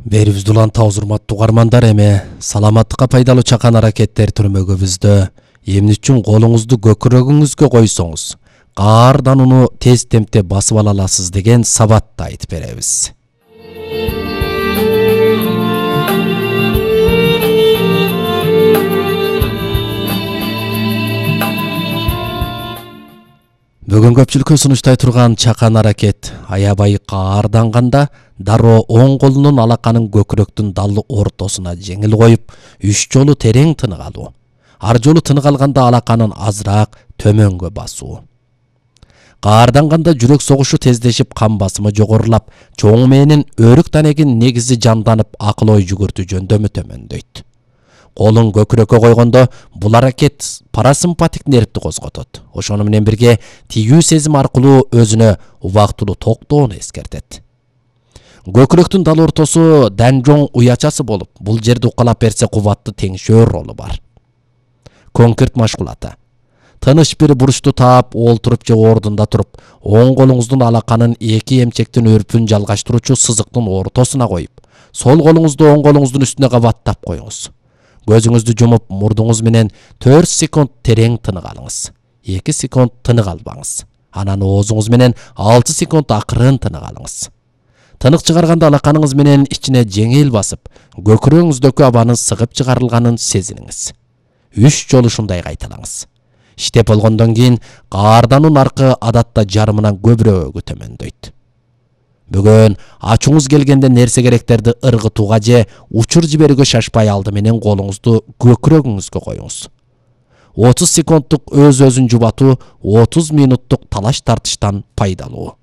Берибизди улантабыз урматтуу угармандар, эми саламаттыкка пайдалуу чакан аракеттер түрмөгүбүздө эмне үчүн колуңузду көкүрөгүңүзгө койсоңуз каардан уну тез темпте басып ала аласыз деген сабатты айтып беребиз. Бүгүн көпчүлүккө сунуштай турган чакан аракет аябай каарданганда дароо оң колунун алаканын көкүрөктүн дал ортосуна жеңил коюп, 3 жолу терең тынык алуу. Ар жолу тынык алганда алаканын азыраак төмөнгө басуу. Каарданганда жүрөк согушу тездешип, кан басымы жогорулап, чоң мээнин өрүк данегин негизи жанданып, акыл ой жүгүртүү жөндөмү төмөндөйт. Колун көкүрөккө койгондо бул аракет парасимпатик нервди козготот. Ошону менен бирге тигүү сезим аркылуу өзүнө убактылуу токтоону эскертет. Көкүрөктүн дал ортосу данжоң уячасы болуп, бул жерди укалап берсе кубатты теңшөөр ролу бар. Конкрет машгулаты. Тыныч бир бурчту таап, олтуруп же ордунда туруп, оң колуңуздун алаканын эки эмчектин өрпүн жалгаштыруучу сызыктын ортосуна коюп, сол колуңузду оң колуңуздун үстүнө кабаттап коюңуз. Көзүңүздү жумуп, мурдуңуз менен 4 секунд терең тынык алыңыз. 2 секунд тынык албаңыз. Анан оозуңуз менен 6 секунд акырын тынык алыңыз. Тынык чыгарганда алаканыңыз менен ичине жеңил басып, көкүрөгүңүздөгү абанын сыгып чыгарылганын сезиниңиз. 3 жолу ушундай кайталаңыз. Иштеп болгондон кийин каардануун аркы адатта жарымынан көбүрөөгү төмөндөйт. Бүгүн ачууңуз келгенде нерсе керектерди ыргытууга же учур жиберүүгө шашпай алды менен колуңузду көкүрөгүңүзгө коюңуз. 30 секунддук өз-өзүн жубатуу 30 минуттук талаш тартыштан пайдалуу.